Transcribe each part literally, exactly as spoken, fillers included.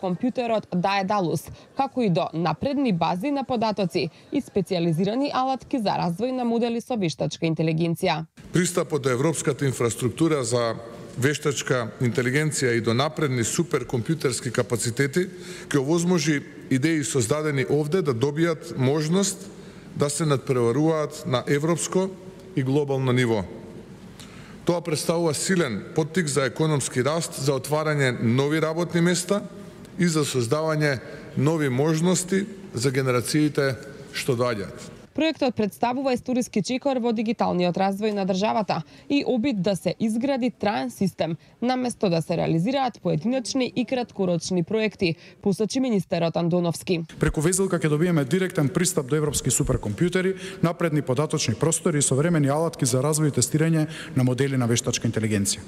Компјутерот Daedalus, како и до напредни бази на податоци и специјализирани алатки за развој на модели со вештачка интелигенција. Пристапот до европската инфраструктура за вештачка интелигенција и до напредни суперкомпјутерски капацитети ќе овозможи идеи создадени овде да добијат можност да се надпреваруваат на европско и глобално ниво. Тоа представува силен поттик за економски раст, за отварање нови работни места и за создавање нови можности за генерациите што доаѓаат. Проектот представува историски чекор во дигиталниот развој на државата и обид да се изгради траен систем, наместо да се реализираат поединечни и краткорочни проекти, посочи министерот Андоновски. Преку везилка ќе добиеме директен пристап до европски суперкомпјутери, напредни податочни простори и современи алатки за развој и тестирање на модели на вештачка интелигенција.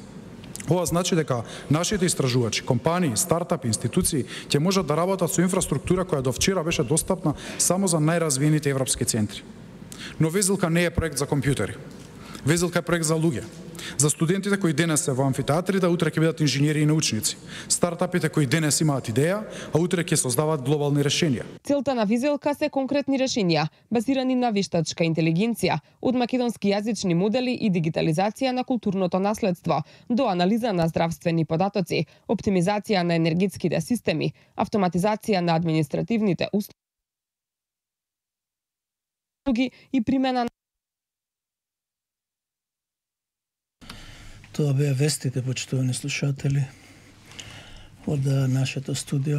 Ова значи дека нашите истражувачи, компании, стартапи, институции ќе можат да работат со инфраструктура која до вчера беше достапна само за најразвиените европски центри. Но везилка не е проект за компјутери. Везилка е проект за луѓе. За студентите кои денес се во амфитеатри, да утре ќе бидат инженери и научници. Стартапите кои денес имаат идеја, а утре ќе создаваат глобални решенија. Целта на везилка се конкретни решенија, базирани на вештачка интелигенција, од македонски јазични модели и дигитализација на културното наследство, до анализа на здравствени податоци, оптимизација на енергетските системи, автоматизација на административните услуги и примена на Тоа беа вестите, почитувани слушатели, од нашето студио.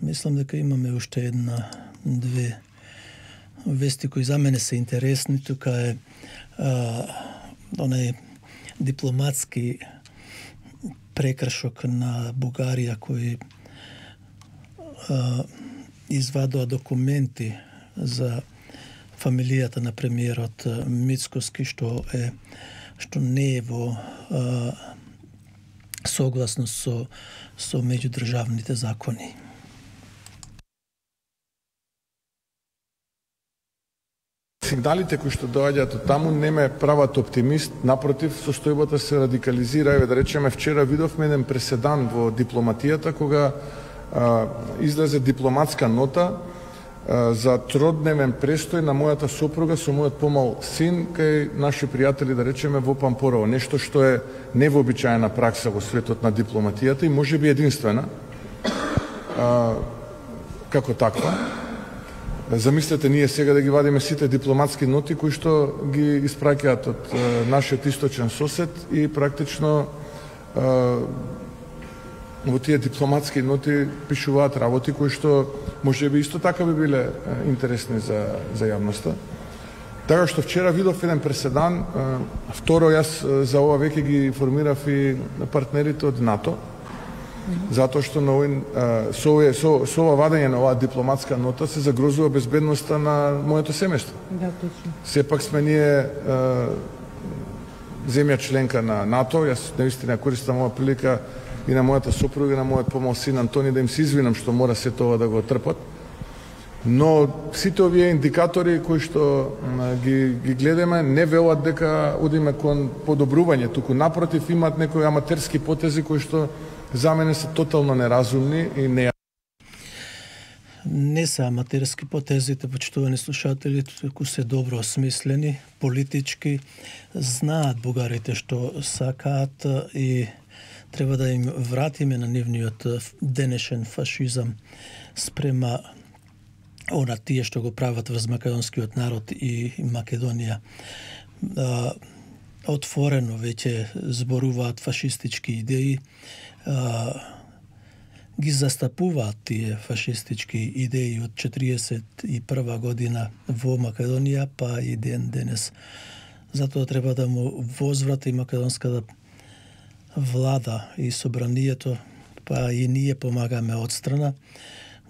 Мислам дека имаме уште една, две вести кои за мене се интересни. Тука е а, онај дипломатски прекршок на Бугарија кој а, извадува документи за фамилијата на премиерот Мицкоски, што е што не е во а, согласно со, со меѓудржавните закони. Сигналите кои што доаѓаат од таму не ме прават оптимист, напротив, состојбата се радикализира. Еве да речеме, вчера видовме еден преседан во дипломатијата кога а, излезе дипломатска нота за тродневен престој на мојата сопруга со мојот помал син кај наши пријатели, да речеме, во Пампорово. Нешто што е невообичаена пракса во светот на дипломатијата и може би единствена а, како таква. Замислете ние сега да ги вадиме сите дипломатски ноти кои што ги испраќаат од а, нашиот источен сосед и практично а, во тие дипломатски ноти пишуваат работи кои што може би исто така би биле интересни за, за јавноста. Така што вчера видов еден преседан. Второ, јас за ова веќе ги информирав и партнерите од НАТО, затоа што на овој, со, со, со ова вадење на оваа дипломатска нота се загрозува безбедноста на моето семејство. Да, точно. Сепак сме ние земја членка на НАТО. Јас наистина користам ова прилика и на мојата сопруга и на мојот помал син Антони да им се извинам што мора се тоа да го трпат. Но сите овие индикатори кои што ги, ги гледаме не велат дека одиме кон подобрување, туку напротив имаат некои аматерски потези кои што за мене се тотално неразумни и не Не се аматерски потезите, почитувани слушатели, туку се добро осмислени, политички, знаат бугарите што сакаат и треба да им вратиме на нивниот денешен фашизам спрема она тие што го прават врз македонскиот народ и Македонија. А, отворено веќе зборуваат фашистички идеи, а, ги застапуваат тие фашистички идеи од четириесет и прва година во Македонија, па и ден денес. Затоа треба да му возврати македонската влада и собранието, па и ние помагаме од страна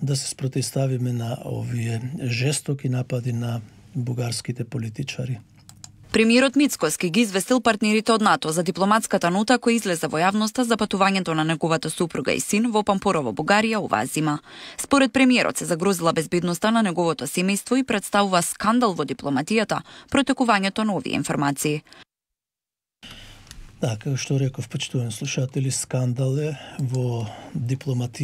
да се спротивставиме на овие жестоки напади на бугарските политичари. Премиерот Мицкоски ги известил партнерите од НАТО за дипломатската нота која излезе во јавноста за патувањето на неговата супруга и син во Пампорово, Бугарија, оваа зима. Според премиерот се загрозила безбедноста на неговото семејство и представува скандал во дипломатијата протекувањето на овие информации. Така, што реков, почитувани слушатели, скандал е во дипломатија